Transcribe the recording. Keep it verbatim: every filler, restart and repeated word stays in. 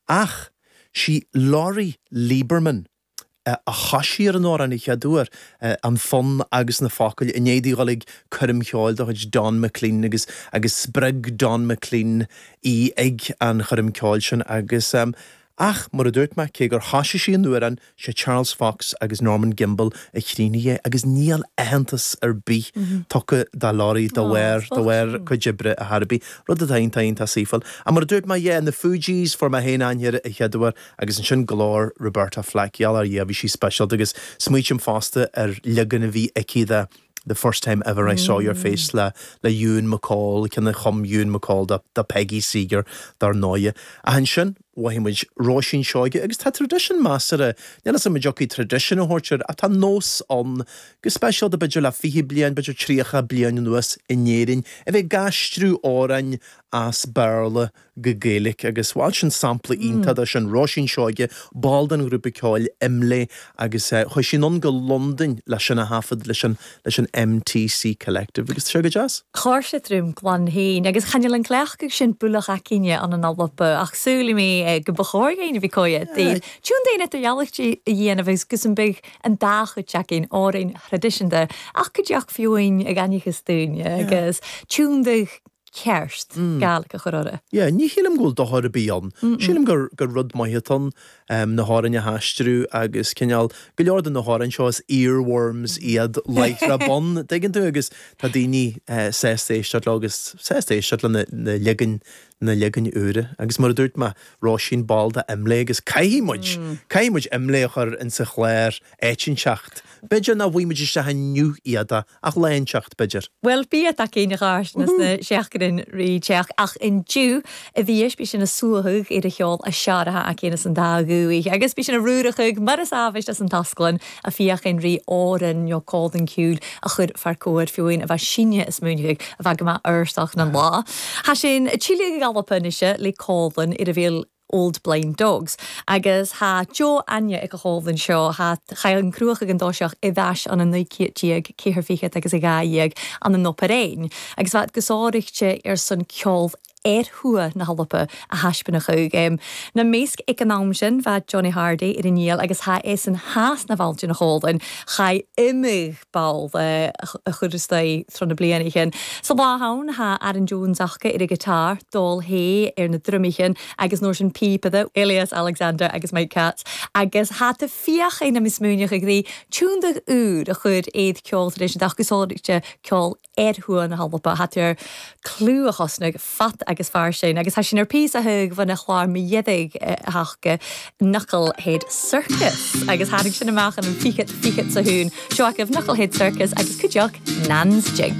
Ach sí Lori Lieberman a thoisigh ar an amhrán an chéad uair, an fonn agus na focail, i ndiaidh di dhul ag coirm cheoil de chuid Don McLean agus agus spreag Don McLean í ag an choirm ceoil sin agus ach mar a dúirt mé, cé gur thoisigh sí an amhrán, sé Charles Fox agus Norman Gimbel a chríochnaigh é agus níl aitheantas ar bith tugtha do Lori de bharr de bharr a cuid oibre ar chor ar bith, rud atá iontach iontach saoithiúil. Ach mar a dúirt mé, yeah, na Fugees fuair mé féin aithne air an chéad uair agus ansin glór Roberta Flack, gheall ar Dhia bhí sí speisialta agus smaoitím fosta ar leagan a bhí aici de The First Time Ever I Saw Your Face le le Ewan MacColl, ceann a chum Ewan MacColl do do Peggy Seeger dar ndóigh. Ach ansin mhothaigh muid Róisín Seoige agus tá traidisiún measartha, níl 'fhios a'm an dtiocfaidh traidisiún a thabhairt air ach tá nós ann, go speisialta b'fhéidir le fiche bliain, b'fhéidir tríocha bliain anuas in Éirinn, a bheith ag aistriú amhráin as Béarla go Gaeilge agus bhuel sin sampla iontach de sin, Róisín Seoige, ball den ghrúpa ceoil Imlé agus chuaigh sí anonn go Londain leis sin a thaifead leis an leis an M T C Collective agus tá sé go deas. Chuir sé tríom glan féin agus chan fhuil an cleachtadh sin bualach aicíne an an Alba ach súil mé go ba chóir éinne bhí cói Tún daine a dhealachtaí a dhéanamh agus gus an beidh an dá chuid againn amhráin thraidisiúnta ach go dteach fiúin ag ainchas dúinne agus tiúndaigh ceart Gaelic a chur orthu. Yeah, ní shílim go bhfuil dochar ar bith ann. Sílim gur gur rud maith atá ann um, na hamhráin a haistriú agus cineál go leor de na hamhráin seo is earworms iad láithreach bonn tuigeann tú agus tá daoine uh, sásta éisteacht leo agus sásta éisteacht le na, na leagain na leagain úra agus mar a dúirt mé Róisín ball de Imlé agus caithfidh muid caithfidh muid Imlé a chur in sa chlár áit inteacht. B'fhéidir nach bhfuil muid isteach inniu iad ach lá inteacht b'fhéidir. Well bí a céine gáis na seachtain rí teach ach inniu a bhíis bí sin a suathadh ar a cheol a searathe a céine san dá gúich, agus bí sin a rúrachuig mar is ábhist as an tasclann a fiachain rí áran nó códan cúl a chur fear cóir fiúin a bheith sinne is múnigh a bheith go maith arstach na lá. Tá sin tíle galpa nise le cólan ar a bhfuil Old Blind Dogs. Agus tá Jo Anya ag a chólan seo ha cha an cruach ag an dóiseach i bheis an an naoi déag ceathair fichead agus a dhá dhéag an an operéin. Agus bheit go sáirichte ar son ceol ar thua na hAlpa a thaispeánadh chuig. Na méisc ag an am sin bheit Johnny Hardy ar an níl agus tha é san has na bhailte na chólan cha imigh ball a churstaí tro na bliana chin. Sa lá hain tha Aaron Jones acha ar a guitar, dul hé ar na drumichin agus nóir sin pípada Elias Alexander agus Mike Katz agus hat a fiacha na mismúneach ag rí túnda úr a chur éad ceol tar éis ach go ceol ar thua na hAlpa hat ar clú a chosnach fat agus fear sin agus tá sin ar pí a thug bhna chlár mi dhéadaigh hacha Knucklehead Circus agus tháinig sin amach an fiche fiche sa hún seo agaibh Knucklehead Circus agus cuideach Nan's Jig.